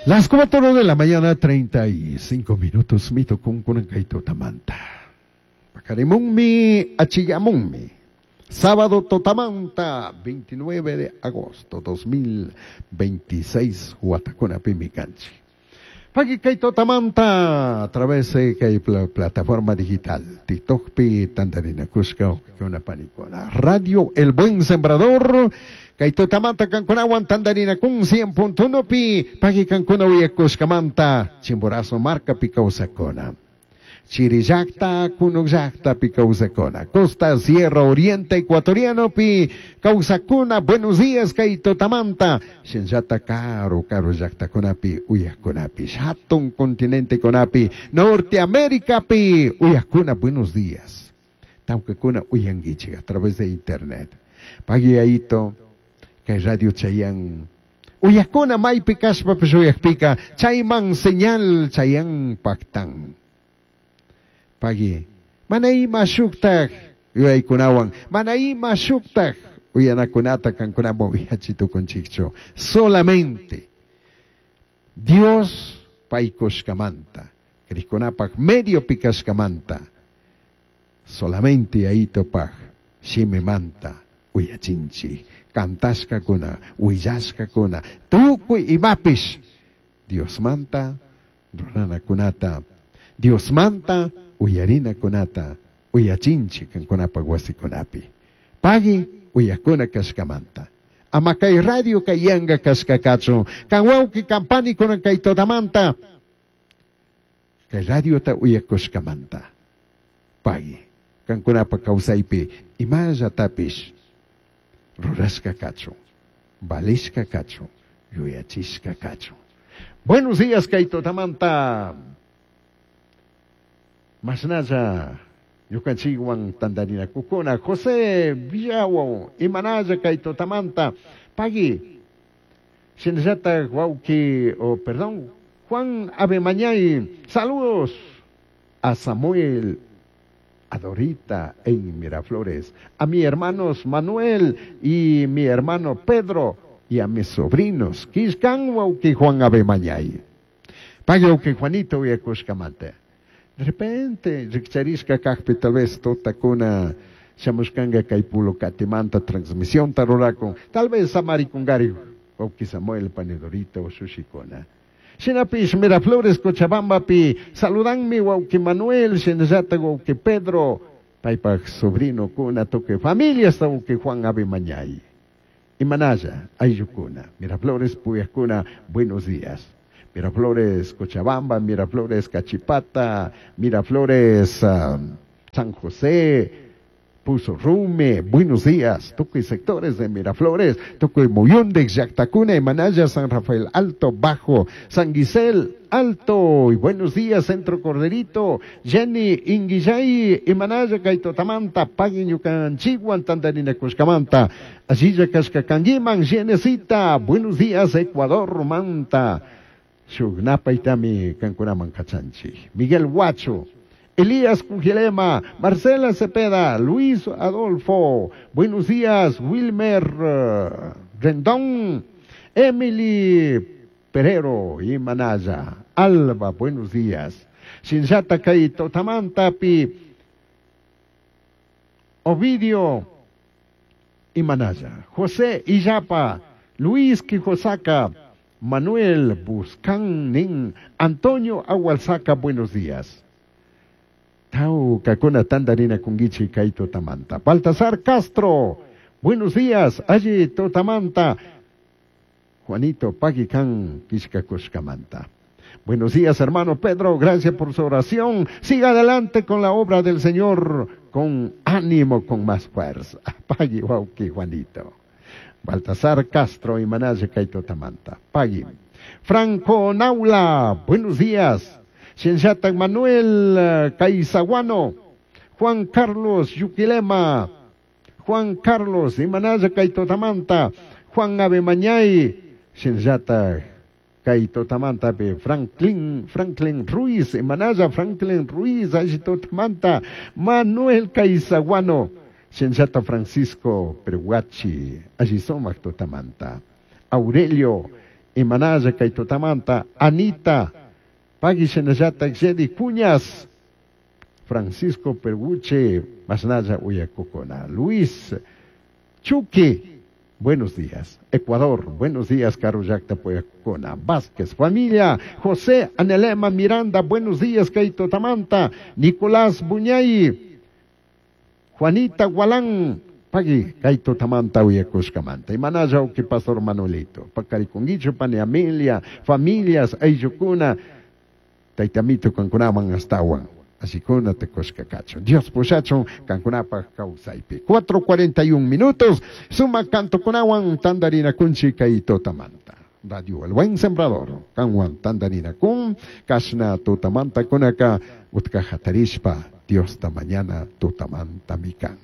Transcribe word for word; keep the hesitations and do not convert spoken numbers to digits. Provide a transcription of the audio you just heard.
Las cuatro de la mañana, treinta y cinco minutos, mito kun kunan kay tutamanta. Paqarimunmi, achiyamunmi. Sábado tutamanta, veintinueve de agosto dos mil veintiséis, Huatacuna Pimicanchi. Paqui kay tutamanta, a través de kay pla-, plataforma digital, TikTok pi tandarina kushka, una panicona. Radio El Buen Sembrador, kay tutamanta kankunawan tandarina kun cien punto uno pi, paqui kankuna uyakushkamanta, Chimborazo marca pi kawsakuna. Chirillacta, Kunukllacta pi kawsakuna. Costa, Sierra, Oriente, Ecuatoriano pi kawsakuna. Buenos días, kay tutamanta. Shinllata karu, karu llaktakuna pi uyakuna pi. Hatun continente kunapi, Norteamérica pi uyakuna. Buenos días. Tawkakuna uyankichik a través de internet. Pagui ayito, kay Radio Chayán. Uyakuna maypi kashpapish uyakpika, chayman señal Chayán paktan. Pagui, mana ima shuktaj yuyaykunawan, mana ima shuktaj uyanakunata kankunaman uyachitukunchikchu. Solamente Dios paykushkamanta, krikunapak medio pikashkamanta, solamente ayitopaj shimimanta uyachinchik, kantashkakuna, willashkakuna, tukuy imapish Diosmanta ruranakunata, Diosmanta uyarinakunata, uyachinchik kankunapak wasikunapi. Pagui uyakuna kashkamanta. Ama kay radio kay yanga kashkakachun, kan wawki kampani kunan kay totamanta, kay radio ta uyakushkamanta. Pagui kankunapak kawsaypi imallatapish rurashka kachun, valishka kachun, yuyachishka kachun. Buenos días kay totamanta. Masnaya, ñukanchikwan tandarinakukuna, José Villawo, imanaya kay totamanta, pagui, shinallata wawki, oh, perdón, Juan Abemañay, saludos a Samuel, a Dorita en Miraflores, a mi hermanos Manuel y mi hermano Pedro, y a mis sobrinos, Quiscan wawki Juan Abemañay. Pagui wawki Juanito uyakushkamanta. De repente, rikcharishka kakpi tal vez totakuna shamushkanga kay pulo katimanta transmisión tarurakun, tal vez samarikungari wawki Samuel Panedorito shushikuna. Shinapish Miraflores Cochabambapi, saludanmi wawki Manuel, shinallata wawki Pedro, paypak sobrino kuna toque familia hasta wawki Juan Abemañay. Imanaya, ayllukuna, Miraflores Puyakuna, buenos días. Miraflores Cochabamba, Miraflores Cachipata, Miraflores, um, San José, Puso Rume, buenos días, tukuy sectores de Miraflores, tukuy Muyundex, Yactacuna, Manaya, San Rafael Alto, Bajo, San Guisel Alto, y buenos días, Centro Corderito, Jenny, Inguillay, Imanaya, Kaitotamanta, Paguiñucan, Chihuan, Tandarina, Cuscamanta, Asilla, Cascacanguiman, Jenecita, buenos días, Ecuador, Manta, Shugnapa itami kankunaman kachanchi. Miguel Huacho, Elías Cujilema, Marcela Cepeda, Luis Adolfo, buenos días, Wilmer, eh, Rendón, Emily Perero y Manaya, Alba, buenos días, Shinshata Kaito, Tamantapi, Ovidio y Manaya, José Illapa, Luis Quijosaka, Manuel Buscán Nin, Antonio Agualzaca, buenos días. Tau Kakuna Tandarina Kungichi Kaito Tamanta. Baltasar Castro, buenos días, allí Totamanta. Juanito Paguicán Quishkakushkamanta. Buenos días, hermano Pedro, gracias por su oración. Siga adelante con la obra del Señor, con ánimo, con más fuerza. Pagui Wauki Juanito. Baltasar Castro y Manaje Kaito Tamanta. Pagui. Franco Naula, buenos días. Shinshata Manuel, eh, Caizaguano, Juan Carlos Yuquilema, Juan Carlos y Manaje Kaito Tamanta, Juan Abemañay, Shinshata Kaito Tamanta, pe Franklin, Franklin Ruiz, Manaya Franklin Ruiz, Ayito Tamanta, Manuel Caizaguano, Shinshata Francisco Peruachi, Ayisomac Totamanta, Aurelio Imanalla kay tutamanta, Anita, pagui shinallatak Jedi Cuñas, Francisco Perguche, masnalla uyakukuna, Luis Chuqui, buenos días. Ecuador, buenos días, karu llakta uyakukuna. Vázquez, familia, José Anelema Miranda, buenos días, kay tutamanta, Nicolás Buñay, Juanita Gualán, pagui, kay tutamanta uyakushkamanta. Imanalla uki Pastor Manuelito, pakarikunguichu pani Amelia, familias, ayllukuna, taytamito kankunaman astawan. Asikuna tukushka kachun. Dios pushachun kankunapaj kawsaypi. Cuatro cuarenta y un minutos. Suma cantokunawan tandarinakunchik kay tutamanta. Radio El Buen Sembrador. Kanwan tandarinakun. Kashna tutamanta kunaka. Utka hatarishpa. Dios ta mañana tutamanta mikan.